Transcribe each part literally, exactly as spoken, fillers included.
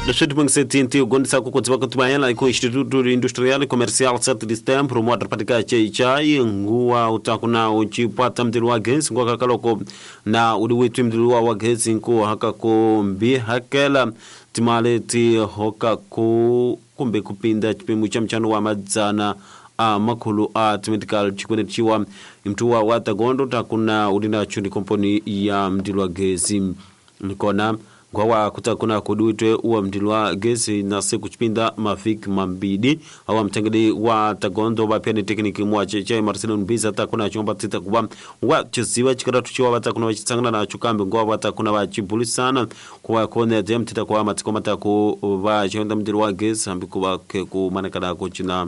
dois mil e sete gondisa kukodziwa kutumayela iko Instituto Industrial e Comercial sete de Setembro mwadra cheichai nguwa utakuna uchipata mdilu wa gesi nguwa kakaloko na udi witu mdilu wa gesi nkuwa hakako mbi hakela timale ti hoka ku kumbe kupinda chipimo cha mchano wa madzana a makhulu a timedical chikwene chiwa mtuwa wa tagondo takuna udina chundi komponi ya mdilu wa gesi nikona ngwawa kutakuna kuduitwe uwa mdilu wa gesi na siku chipinda mafiki mambidi awa mtengedi wa tagondo wapya ni tekniki mwa chechai Marcelo Nbiza takuna chomba tita kuba wa chiziwa chikaratu chiwa watakuna wachitsangana na chukambi ngwa watakuna wachibulisana kuwa kone dem tita kwa matiko mataku wa chonda mdilu wa gesi hambi kuwa ke kumanekana kuchina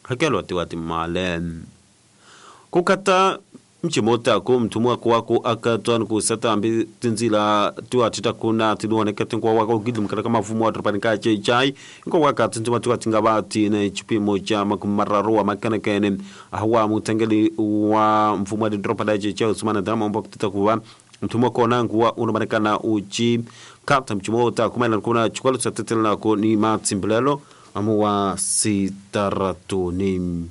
hakelwa tiwati male kukata mchimota ku mtumwa kwako akatwa kusata ambi tinzila tiwa titakuna tiduoneka tinkwa wako gidu mkata kama mfumo wa tropanika chai nko waka tintuma tiwa tingaba tine chipimo cha makumararu wa makanakene ahwa mutengeli wa mfumo wa tropa chai usumana drama mbo titakuwa mtumwa kona nguwa unomanekana uchi kata mchimota kumela kuna chukalo chatetela ko ni matsimbilelo amuwa sitaratuni.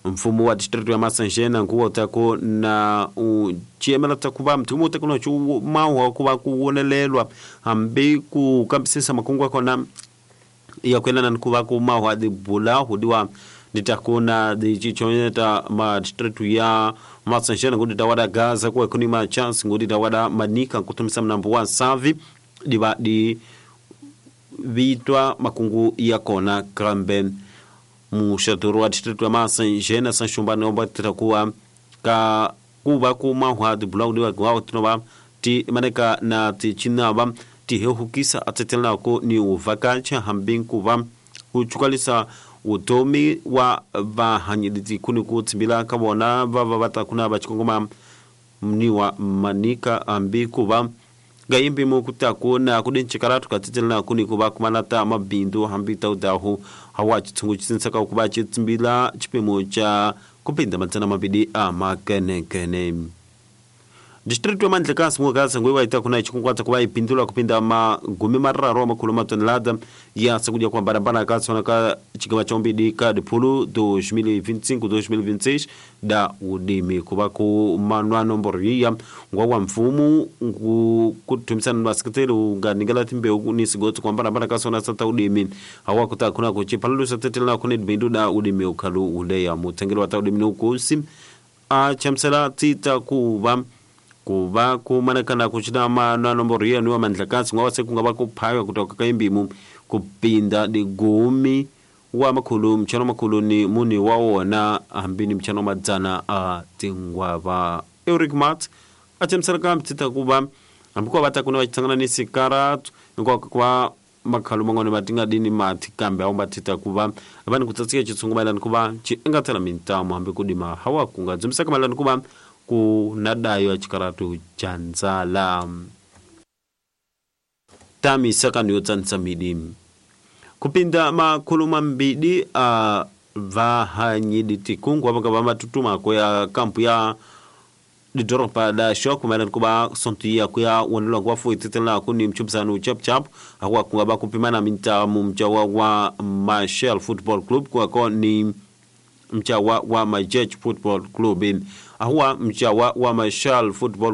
Mfumo wa district ya Masanjena nguwa utako na uchiemela takuba mtumo utako na chu mawa kuba kuonelelwa ambi kukambisisa makungwa kona ya kwela na nkuba ku mawa di bula hudiwa nitakuna di chichonyeta ma district ya Masanjena ngudi tawada Gaza kwa kuni ma chance ngudi tawada manika kutumisa mnambo wa savi diba di vitwa makungu ya kona krambe mushaturu wa district wa Masanjena Sanchumbani omba titakuwa ka kuba kuma hwa di blog di wa tinoba ti maneka na ti chinaba ti hehukisa atetelna ko ni uvakacha hambin kuba kuchukalisa utomi wa vahanyiditi kuni kutsimbila kabona vava vatakuna vachikongoma mniwa manika ambi kuba gayimbi mukutakuna kudinchikaratu katitelna kuni kuba kumanata mabindu hambi taudahu hawa chitsungu chisinsaka kuba chitsimbila chipimo cha kupinda madzana mabidi a makenekene. District wa Mandlekasi mwakasa ngwe waita kuna chikunkwata kuba ipindula kupinda magumi mararo makulu matonelada ya sakuja kwa barabara kasi ka chigaba chombidi ka dipulu dois mil e vinte e cinco dois mil e vinte e seis da udimi kuba ku manwa nomboro yiya ngwa wa mfumu ngu kutumisana na sekretari unganingela timbe ni sigotso kwa barabara kasi na sata udimi hawa kuta kuna kuchipalu satetela kuni bindu da udimi ukalu uleya mutengelo wa udimi nukusi a chamsela tita kuba kuva kumanekana kuchita mana nomboro yenu wa Mandlekasi ngwa sekunga kuphaywa kutoka kaimbimu kupinda digumi wa makhulu mchano makhulu ni muni wa wona hambini mchano madzana a tingwava Eric Mart achemsereka mtita kuva ambikuwa vatakuna vachitsangana ni sikaratu ngwa kwa makhalu mang'ono matinga dini mati kambe awo matita kuva vani kutsatsika chitsungu maelani kuva chiengatela mintamo hambi kudima hawa kunga dzumisaka maelani kuva kunadayo achikaratu cha ndzala tami sakani yotsanisa midi kupinda makhulu mambidi a vahanyidi tikungu apanga vamatutumako ya kampu ya didoropa da shok maelani kuba sontu ya kuya wonelwa kuwa fuititela kuni mchubzanu chap chap akuwa kunga bakupimana mintamu mchawa wa Marshall Football Club kuwako ni mchawa wa Majech Football Club ahuwa mchawa wa Marshall Football.